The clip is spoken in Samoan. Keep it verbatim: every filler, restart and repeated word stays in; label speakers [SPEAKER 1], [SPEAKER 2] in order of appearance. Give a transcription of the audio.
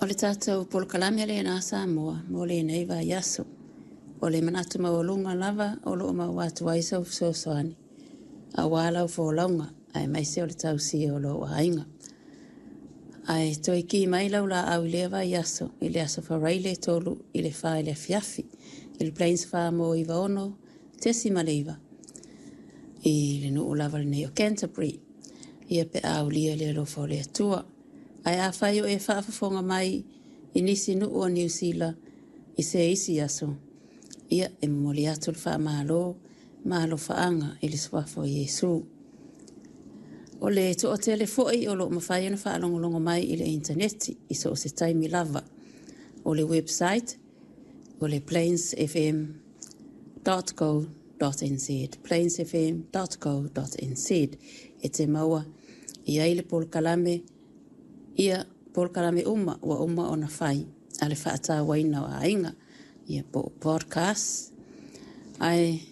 [SPEAKER 1] O le tatou polokalame lena Samoa mo lenei vaiaso. O le manatu maualuga lava o loo maua atu ai sau fesoasoani aua lau folauga aemaise o le tausia o lou aiga. Ae toe ki mai lau laau i lea vaiaso i le aso Faraile tolu i le fa i le afiafi i le Plains Farm o iva ono tesi ma le iva i le nuu lava lenei o Canterbury. Ia pe aulia le alofa o le Atua. Ae afai o e faafofoga mai i nisi nuu o Niu Sila i se isi aso, ia e momoli atu le faamalo ma alofaaga i le suafa o Iesu. O le toatele foi o loo mafai ona faalogologo mai i le initaneti i so o se taimi lava. O le website o le plains f m dot co dot n z, plains f m dot co dot n z, e te maua i ai le polokalame, ia polokalame uma ua uma ona fai a le faatauaina o aiga, ia po o podcast. Ae